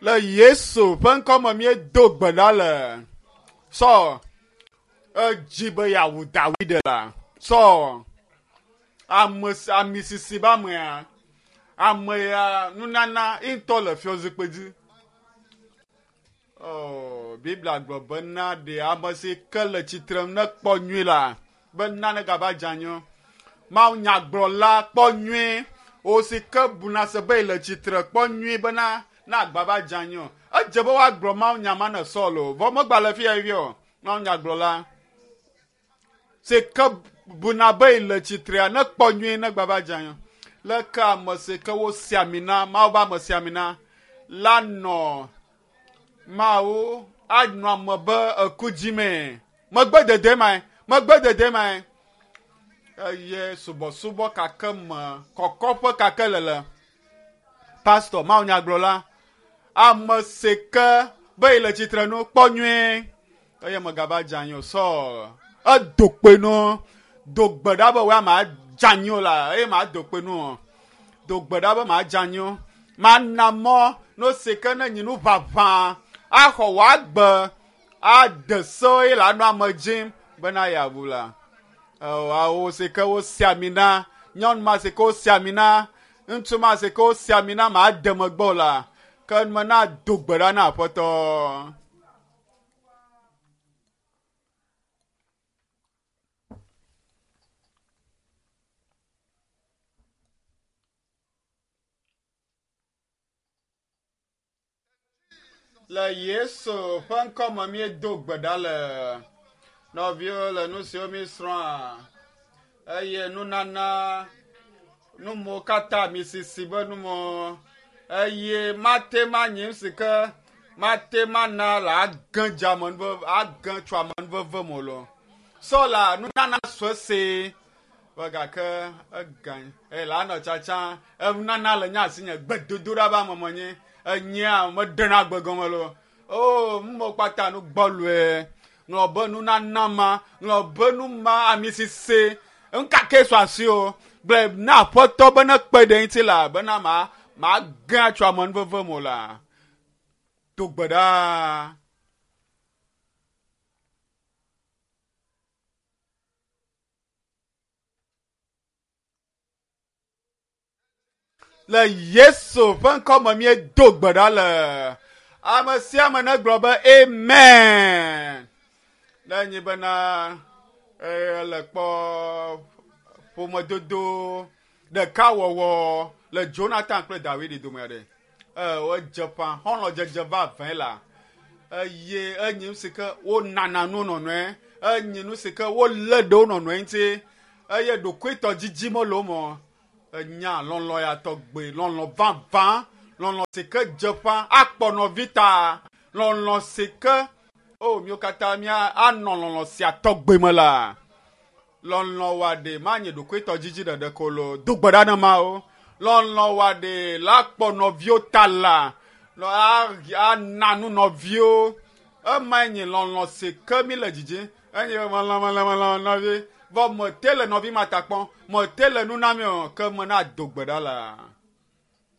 Le Yesu ƒe ŋkɔ me míedo gbe ɖa le. Saul edzi be yeawu Dawid la. Saul ame ami sisi be amea ame ya nunana ye ŋutɔ le fiɔzikpui dzi. Oh, Biblia gblɔ bena ɖe ame si ke le tsitre nekpɔ nyui la bena negava dze anyi o. Mawu nyagblɔla kpɔ nyui o si ke buna se be yele tsitre kpɔ nyui bena ne agba va dze anyi o. Edze be woagblɔ Mawu nya ma ne Saul o. Vɔ megba le fia fifia o. Mawu nyagblɔla si ke buna be yele tsitrea nekpɔ nyui ne gba va dze anyi o. Leke ame si ke wosi ami na Mawu be ame si ami na la nɔ Mawu anɔ ame be eku dzimee. Megbe dede mae, megbe dede mae. Eye subɔsubɔ kake me, kɔkɔƒe kake le le. Pastor, Mawu nyagblɔla, ame si ke be yi le tsitre nu kpɔ nyuie eye megava dze anyi o. Saul edo kpe nu, do gbe ɖa be wòe ma dze anyi o la eye ma do kpe nu o. Do gbe ɖa be ma dze anyi o. Mana mɔ no si ke ne nyi nu ʋaʋã axɔ wò agbe ade se eye le anɔ ame dzim bena yeabu la. Awo si ke wosi ami na nyɔnu ma si ke wosi ami na ŋutsu ma si ke wosi ami na ma de megbe o la ke mena do gbe ɖa na aƒetɔ. Le Yesu ƒe ŋkɔ me míedo gbe ɖa le nɔviwo le nu siwo míesrɔ̃a eye nunana numewo katã misisi be numewo eye mate manyi nu si ke mate mana le age dze amenuveve age tso amenuveve me o lo. Sɔla nunana sue si vɔ gake ega eye la nɔ tsatsa enunana le nye asinye gbedodoɖa be ame menye enyea meɖena gbe gɔme lo. O numewo kpata nu gbɔlɔe ŋlɔ be nunana ma ŋlɔ be nu ma ami sisi ŋkake sɔ asi o gblɔe na aƒetɔ be ne kpe ɖe ŋuti la bena ma mage atso amenuveve me o la do gbe ɖa. Le Yesu ƒe ŋkɔ me míedo gbe ɖa le. Ame sia ame negblɔ be amen. Ne nyi bena ele kpɔ ƒomedodo ɖekawɔwɔ le Jonathan kple Dawidi dome ɖe. Edze ƒã xɔlɔ̃dzedze vavãe la eye enyi nu si ke wonana nu nɔnɔe enyi nu si ke wolé ɖe wo nɔnɔe ŋuti eye ɖokuitɔdidi mele wo me o. Enya lɔlɔ̃ ya tɔgbe, lɔlɔ̃ vavã, lɔlɔ̃ si ke dze ƒã akpɔ nɔvi ta, lɔlɔ̃ si ke o míwo katã mía anɔ lɔlɔ̃ sia tɔgbe me la. Lɔlɔ̃ wa ɖe manye ɖokuitɔdidi ɖeɖe ko lo. Do gbe ɖa na Mawu. Lɔlɔ̃ wa ɖe la kpɔ nɔviwo ta la ana nu nɔviwo. Emae nye lɔlɔ̃ si ke mi le dzidzim. Enye be melɔ̃ melɔ̃ melɔ̃ nɔvi. Vɔ mete le nɔvi ma ta kpɔm. Mete le nu na mi o ke mena do gbe ɖa la.